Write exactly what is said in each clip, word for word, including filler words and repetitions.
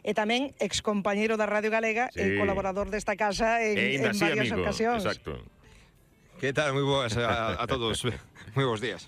e tamén excompañeiro da Radio Galega sí. e colaborador desta casa en, en varias amigo. ocasións. Exacto. Que tal? Moi boas a, a todos. Moi bons días.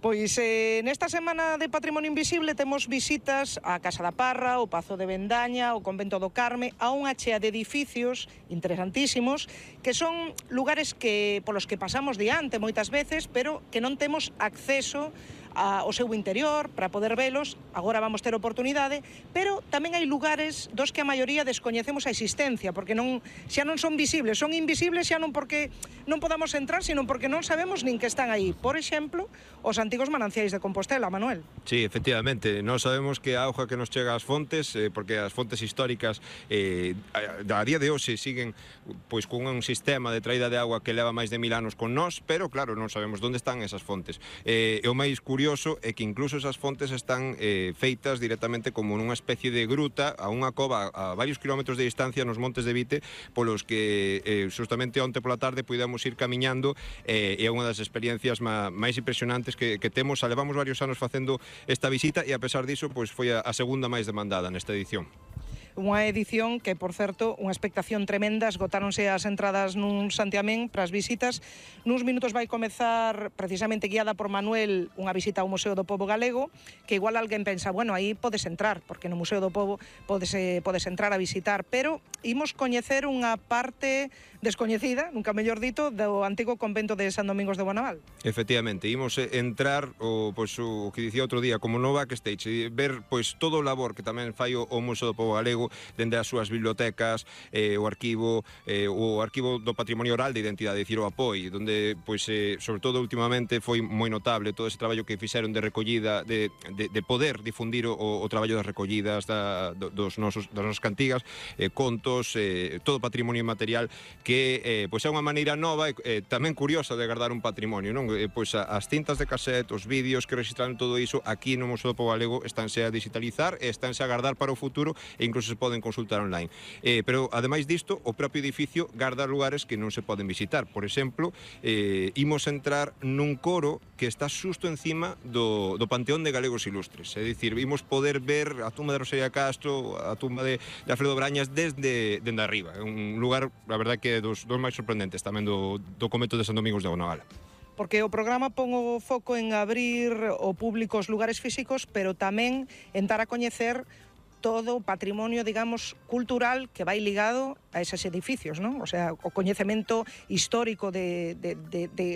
Pois eh, nesta semana de Patrimonio Invisible temos visitas á Casa da Parra, ao Pazo de Bendaña, ao Convento do Carme, a unha chea de edificios interesantísimos que son lugares que polos que pasamos diante moitas veces, pero que non temos acceso ao seu interior para poder velos. Agora vamos ter oportunidade, pero tamén hai lugares dos que a maioría descoñecemos a existencia, porque non xa non son visibles, son invisibles xa non porque non podamos entrar, sino porque non sabemos nin que están aí. Por exemplo, os antigos mananciais de Compostela, Manuel. Sí, efectivamente, nós sabemos que a auga que nos chega ás fontes, eh, porque as fontes históricas eh, a, a día de hoxe siguen pois con un sistema de traída de agua que leva máis de mil anos con nós, pero claro, non sabemos onde están esas fontes. Eh, e o máis curioso é que incluso esas fontes están eh, feitas directamente como nunha especie de gruta a unha cova a varios kilómetros de distancia nos montes de Vite, polos que eh, justamente onte pola tarde puidamos ir camiñando, eh, e é unha das experiencias má, máis impresionantes que, que temos. Levamos varios anos facendo esta visita e a pesar diso pois foi a, a segunda máis demandada nesta edición. Unha edición que, por certo, unha expectación tremenda, esgotáronse as entradas nun santiamén para as visitas. Nuns minutos vai comezar, precisamente guiada por Manuel, unha visita ao Museo do Pobo Galego, que igual alguén pensa, bueno, aí podes entrar, porque no Museo do Pobo podes, eh, podes entrar a visitar, pero imos coñecer unha parte descoñecida, nunca mellor dito, do antigo convento de San Domingos de Bonaval. Efectivamente, imos entrar o, pois, o que dicía outro día, como no backstage, ver pois todo o labor que tamén fai o, o Museo do Pobo Galego, dende as súas bibliotecas, eh, o arquivo eh, o arquivo do Patrimonio Oral de Identidade, dicir o APOI, donde, pois, eh, sobre todo últimamente foi moi notable todo ese traballo que fixeron de recollida, de, de, de poder difundir o, o traballo das recollidas da, do, dos nosos, das nosas cantigas, eh, contos, eh, todo patrimonio material que eh, pois é unha maneira nova e eh, tamén curiosa de guardar un patrimonio, non? Eh, pois a, as cintas de cassette, os vídeos que registraron todo iso aquí no Museo do Pobo Galego estánse a digitalizar e estánse a guardar para o futuro e incluso se poden consultar online. Eh, pero, ademais disto, o propio edificio garda lugares que non se poden visitar. Por exemplo, eh, imos entrar nun coro que está xusto encima do, do Panteón de Galegos Ilustres. É dicir, imos poder ver a tumba de Rosalía Castro, a tumba de, de Alfredo Brañas desde, desde arriba. É un lugar, a verdade, que é dos, dos máis sorprendentes tamén do, do convento de San Domingos de Bonaval. Porque o programa pon o foco en abrir o público os lugares físicos, pero tamén en dar a coñecer todo o patrimonio, digamos, cultural que vai ligado a esos edificios, non? O sea, o coñecemento histórico de, de, de, de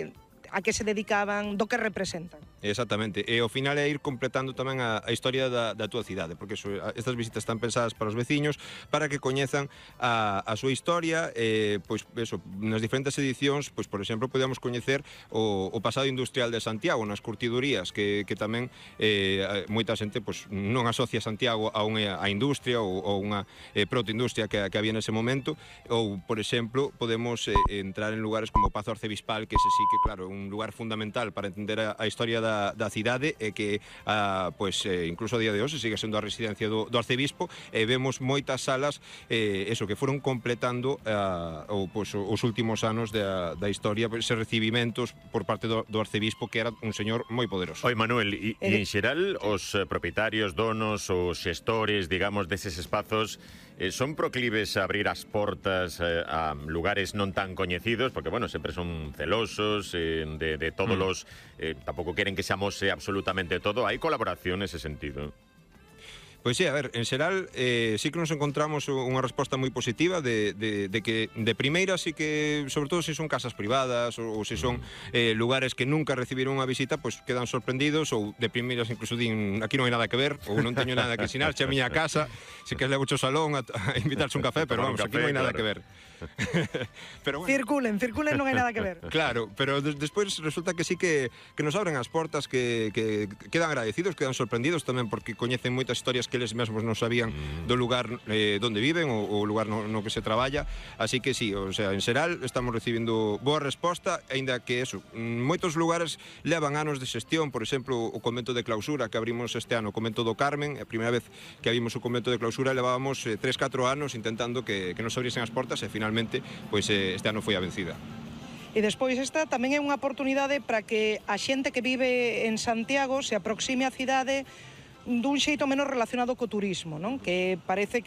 a que se dedicaban, do que representan. Exactamente, e ao final é ir completando tamén a, a historia da, da túa cidade, porque eso, estas visitas están pensadas para os veciños, para que coñezan a, a súa historia, e, pois, eso, nas diferentes edicións, pois, por exemplo, podemos coñecer o, o pasado industrial de Santiago, nas curtidurías, que, que tamén eh, moita xente pois, non asocia Santiago a unha a industria ou, ou unha eh, protoindustria que, que había nese momento, ou, por exemplo, podemos eh, entrar en lugares como o Pazo Arcebispal, que ese sí que, claro, un lugar fundamental para entender a, a historia da, da cidade e que a, pues, eh, incluso a día de hoxe sigue sendo a residencia do, do arcebispo e vemos moitas salas eh, eso que foron completando a, o, pues, os últimos anos da, da historia, pues, recibimentos por parte do, do arcebispo, que era un señor moi poderoso. Oi, Manuel, e, e en xeral os propietarios, donos, os xestores, digamos, deses espazos eh, son proclives a abrir as portas eh, a lugares non tan coñecidos, porque, bueno, sempre son celosos eh, de, de todos mm. los... Eh, tampouco queren que se amose absolutamente todo. Hai colaboración nese sentido? Pois sí, a ver, en xeral eh, sí que nos encontramos unha resposta moi positiva de, de, de que de primeira sí que, sobre todo se son casas privadas ou, ou se son eh, lugares que nunca recibiron unha visita, pois quedan sorprendidos, ou de primeiras incluso din aquí non hai nada que ver, ou non teño nada que ensinar, che a miña casa, se que levo o salón a, a invitarse un café, pero vamos, aquí non hai nada que ver. Pero bueno. Circulen, circulen, non hai nada que ver. Claro, pero des, despois resulta que sí que, que nos abren as portas, que, que quedan agradecidos, quedan sorprendidos tamén porque coñecen moitas historias que eles mesmos non sabían mm. do lugar eh, donde viven ou o lugar no, no que se traballa, así que sí, o sea, en xeral estamos recibindo boa resposta, aínda que eso, moitos lugares levan anos de xestión, por exemplo, o convento de clausura que abrimos este ano, o convento do Carmen, a primeira vez que abrimos o convento de clausura levábamos eh, tres catro anos intentando que, que nos abriesen as portas e finalmente, pois eh, este ano foi a vencida. E despois esta tamén é unha oportunidade para que a xente que vive en Santiago se aproxime á cidade dun xeito menos relacionado co turismo, non? Que parece